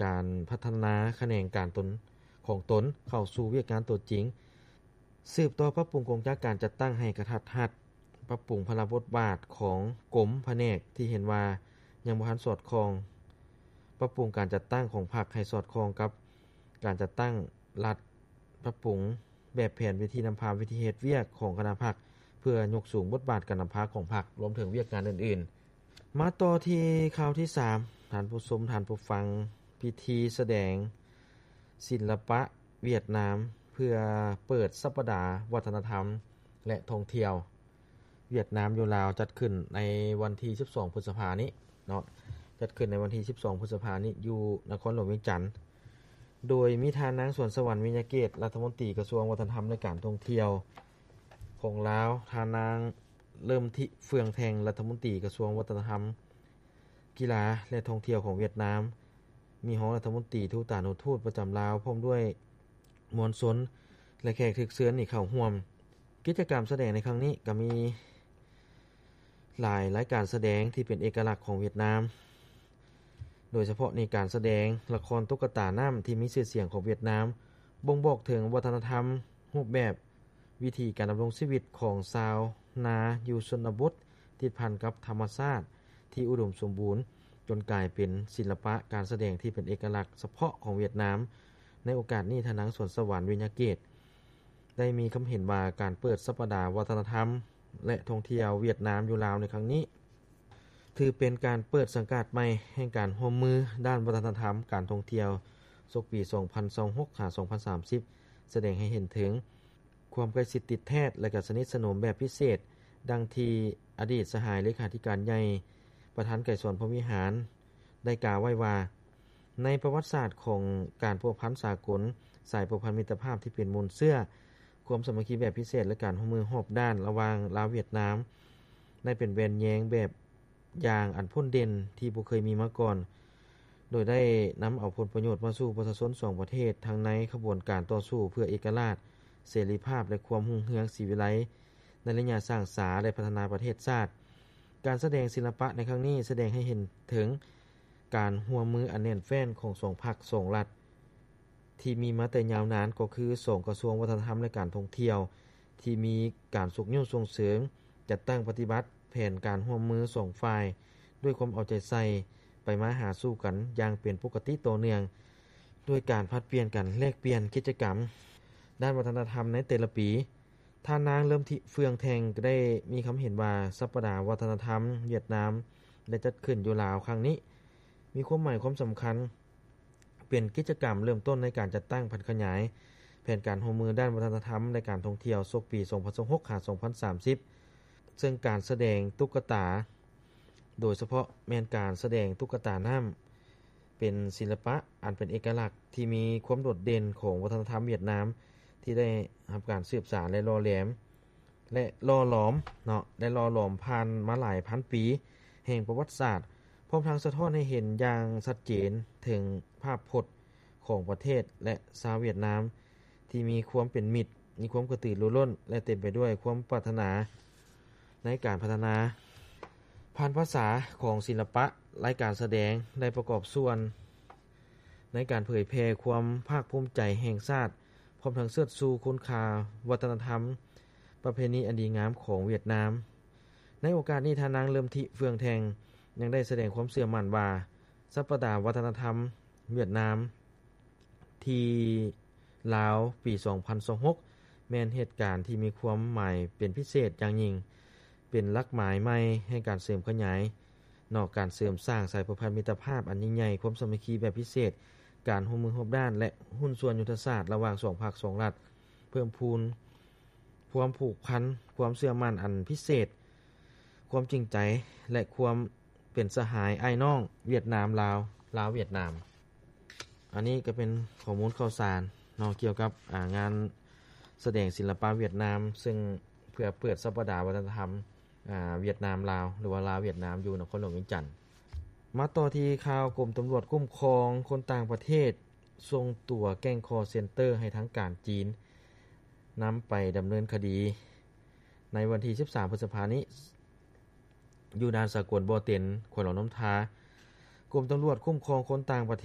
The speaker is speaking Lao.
ການພັດທະນາຂະແໜງການຕົນ ຂອງຕົນເຂົ້າສູ່ວຽກງານຕົວຈິງ, ສືບຕໍ່ປັບປຸງກົງຈັກການຈັດຕັ້ງໃຫ້ກະທັດຮັດ, ປັບປຸງພາລະບົດບາດຂອງກົມພະແນກທີ່ເຫັນວ່າຍັງບໍ່ທັນສອດຄ່ອງ, ປັບປຸງການຈັດຕັ້ງຂອງພັກໃຫ້ສອດຄ່ອງກັບການຈັດຕັ້ງລັດ, ປັບປຸງແບບແຜນວິທີນຳພາວິທີເຮັດວຽກຂອງຄະນະພັກ ເພື່ອຍົກສູງບົດບາດການນຳພາຂອງພັກ, ລວມເຖິງວຽກງານອື່ນໆ. ມາຕໍ່ທີ່ຂ່າວທີສາມ, ທ່ານຜູ້ຊົມ, ທ່ານຜູ້ຟັງ, ພິທີສະແດງສິລະປະຫວຽດນາມ ເພື່ອເປີດສັບປະດາວັດທະນະທຳ ແລະ ທ່ອງທ່ຽວຫວຽດນາມຢູ່ລາວ ຈັດຂຶ້ນໃນວັນທີສິບສອງ ພຶດສະພານີ້ເນາະ, ຈັດຂຶ້ນໃນວັນທີສິບສອງ ພຶດສະພານີ້ ຢູ່ນະຄອນຫຼວງວຽງຈັນ, ໂດຍມີທ່ານນາງ ສວນສະຫວັນ ວິຍະເກດ ລັດຖະມົນຕີກະຊວງວັດທະນະທຳ ແລະ ການທ່ອງທ່ຽວຂອງລາວ, ທ່ານນາງ ເລີ່ມທິ ເຟືອງແທ່ງ ລັດຖະມົນຕີກະຊວງວັດທະນະທຳ, ກິລາ ແລະ ທ່ອງທ່ຽວຂອງຫວຽດນາມ, ມີຮອງລັດຖະມົນຕີ, ທູຕານຸທູດປະຈຳລາວ ພ້ອມດ້ວຍມວນຊົນ ແລະ ແຂກຖືກເຊີນນີ້ເຂົ້າຮ່ວມ. ກິດຈະກຳສະແດງໃນຄັ້ງນີ້ກໍມີຫຼາຍລາຍການສະແດງທີ່ເປັນເອກະລັກຂອງຫວຽດນາມ, ໂດຍສະເພາະນີ້ການສະແດງລະຄອນຕຸກກະຕານ້ຳທີ່ມີຊື່ສຽງຂອງຫວຽດນາມ ບົ່ງບອກເຖິງວັດທະນະທຳ, ຮູບແບບ, ວິທີການດຳລົງຊີວິດຂອງຊາວນາຢູ່ຊົນນະບົດ ຕິດພັນກັບທຳມະຊາດທີ່ອຸດົມສົມບູນ, ຈົນກາຍເປັນສິລະປະການສະແດງທີ່ເປັນເອກະລັກສະເພາະຂອງຫວຽດນາມ. ໃນໂອກາດນີ້, ທ່ານນາງ ສວນສະຫວັນ ວິຍະເກດ ໄດ້ມີຄຳເຫັນວ່າ ການເປີດສັບປະດາວັດທະນະທຳ ແລະ ທ່ອງທ່ຽວຫວຽດນາມຢູ່ລາວໃນຄັ້ງນີ້ ຖືເປັນການເປີດສັງກາດໃໝ່ແຫ່ງການຮ່ວມມືດ້ານວັດທະນະທຳ, ການທ່ອງທ່ຽວ ສົກປີສອງພັນຊາວຫົກ ຫາ ສອງພັນສາມສິບ ສະແດງໃຫ້ເຫັນເຖິງຄວາມໃກ້ຊິດຕິດແທດ ແລະ ກະສະໜິດສະໜົມແບບພິເສດ, ດັ່ງທີ່ອະດີດສະຫາຍເລຂາທິການໃຫຍ່ ປະທານໄກສອນ ພົມວິຫານ ໄດ້ກ່າວໄວ້ວ່າ ໃນປະຫວັດສາດຂອງການພົວພັນສາກົນ, ສາຍພົວພັນມິດຕະພາບທີ່ເປັນມູນເຊື້ອ, ຄວາມສາມັກຄີແບບພິເສດ ແລະ ການຮ່ວມມືຮອບດ້ານລະຫວ່າງລາວຫວຽດນາມ ໄດ້ເປັນແວ່ນແຍງແບບຢ່າງອັນພົ້ນເດັ່ນທີ່ບໍ່ເຄີຍມີມາກ່ອນ, ໂດຍໄດ້ນຳເອົາຜົນປະໂຫຍດມາສູ່ປະຊາຊົນສອງປະເທດ ທັງໃນຂະບວນການຕໍ່ສູ້ເພື່ອເອກະລາດ, ເສລີພາບ ແລະ ຄວາມຮຸ່ງເຮືອງສີວິໄລ ໃນໄລຍະສ້າງສາ ແລະ ພັດທະນາປະເທດຊາດ. ການສະແດງສິລະປະໃນຄັ້ງນີ້ ສະແດງໃຫ້ເຫັນເຖິງການຮ່ວມມືອັນແໜ້ນແຟ້ນຂອງສອງພັກສອງລັດ ທີ່ມີມາແຕ່ຍາວນານ ກໍຄືສອງກະຊວງວັດທະນະທຳ ແລະ ການທ່ອງທ່ຽວ ທີ່ມີການຊຸກຍູ້ສົ່ງເສີມ, ຈັດຕັ້ງປະຕິບັດແຜນການຮ່ວມມືສອງຝ່າຍ ດ້ວຍຄວາມເອົາໃຈໃສ່, ໄປມາຫາສູ່ກັນຢ່າງເປັນປົກກະຕິຕໍ່ເນື່ອງ, ດ້ວຍການຜັດປ່ຽນກັນແລກປ່ຽນກິດຈະກຳດ້ານວັດທະນະທຳໃນແຕ່ລະປີ. ທ່ານນາງ ເລີ່ມທິ ເຟືອງແທ່ງ ກໍໄດ້ມີຄຳເຫັນວ່າ ສັບປະດາວັດທະນະທຳຫວຽດນາມ ໄດ້ຈັດຂຶ້ນຢູ່ລາວຄັ້ງນີ້ ມີຄວາມໝາຍຄວາມສຳຄັນ ເປັນກິດຈະກຳເລີ່ມຕົ້ນໃນການຈັດຕັ້ງຜັນຂະຫຍາຍແຜນການຮ່ວມມືດ້ານວັດທະນະທຳ ແລະ ການທ່ອງທ່ຽວ ສົກປີສອງພັນຊາວຫົກ ຫາ ສອງພັນສາມສິບ ເຊິ່ງການສະແດງຕຸກກະຕາ ໂດຍສະເພາະແມ່ນການສະແດງຕຸກກະຕານ້ຳ ເປັນສິລະປະອັນເປັນເອກະລັກທີ່ມີຄວາມໂດດເດັ່ນຂອງວັດທະນະທຳຫວຽດນາມ ທີ່ໄດ້ຮັບການສືບສານ ແລະ ຫຼໍ່ແຫຼມ ແລະ ຫຼໍ່ຫຼອມເນາະ ໄດ້ຫຼໍ່ຫຼອມຜ່ານມາຫຼາຍພັນປີແຫ່ງປະຫວັດສາດ, ພ້ອມທັງສະທ້ອນໃຫ້ເຫັນຢ່າງຊັດເຈນເຖິງພາບພົດຂອງປະເທດ ແລະ ຊາວຫວຽດນາມ ທີ່ມີຄວາມເປັນມິດ, ມີຄວາມກະຕືລືລົ້ນ ແລະ ເຕັມໄປດ້ວຍຄວາມປາດຖະໜາໃນການພັດທະນາ. ຜ່ານພາສາຂອງສິລະປະ, ລາຍການສະແດງໄດ້ປະກອບສ່ວນໃນການເຜີຍແຜ່ຄວາມພາກພູມໃຈແຫ່ງຊາດ, ພ້ອມທັງເຊີດຊູຄຸນຄ່າວັດທະນະທຳ ປະເພນີອັນດີງາມຂອງຫວຽດນາມ. ໃນໂອກາດນີ້, ທ່ານນາງ ເລີ່ມທິ ເຟືອງແທ່ງ ຍັງໄດ້ສະແດງຄວາມເຊື່ອໝັ້ນວ່າ ສັບປະດາວັດທະນະທຳຫວຽດນາມ ທີ່ລາວປີສອງພັນຊາວຫົກ ແມ່ນເຫດການທີ່ມີຄວາມໝາຍເປັນພິເສດຢ່າງຍິ່ງ, ເປັນຫຼັກໝາຍໃໝ່ແຫ່ງການເສີມຂະຫຍາຍເນາະ, ການເສີມສ້າງສາຍພົວພັນມິດຕະພາບອັນຍິ່ງໃຫຍ່, ຄວາມສາມັກຄີແບບພິເສດ, ການຮ່ວມມືຮອບດ້ານ ແລະ ຫຸ້ນສ່ວນຍຸດທະສາດລະຫວ່າງສອງພັກສອງລັດ, ເພີ່ມພູນຄວາມຜູກພັນ, ຄວາມເຊື່ອໝັ້ນອັນພິເສດ, ຄວາມຈິງໃຈ ແລະ ຄວາມ ເປັນສະຫາຍອ້າຍນ້ອງຫວຽດນາມ-ລາວ, ລາວ-ຫວຽດນາມ. ອັນນີ້ກໍເປັນຂໍ້ມູນຂ່າວສານເນາະ ກ່ຽວກັບ ອາ ງານສະແດງສິລະປະຫວຽດນາມ ເຊິ່ງເພື່ອເປີດສັບປະດາວັດທະນະທຳ ອາ ຫວຽດນາມ-ລາວ ຫຼືວ່າລາວ-ຫວຽດນາມ ຢູ່ນະຄອນຫຼວງວຽງຈັນ. ມາຕໍ່ທີ່ຂ່າວ ກົມຕຳຫຼວດຄຸ້ມຄອງຄົນຕ່າງປະເທດ ສົ່ງຕົວແກ້ງຄໍເຊັນເຕີໃຫ້ທາງການຈີນນຳໄປດຳເນີນຄະດີ ໃນວັນທີສິບສາມ ພຶດສະພານີ້ ຢູ່ດ່ານສາກົນບໍ່ເຕັນ ແຂວງຫຼວງນ້ຳທາ, ກົມຕຳຫຼວດຄຸ້ມຄອງຄົນຕ່າງປະເທ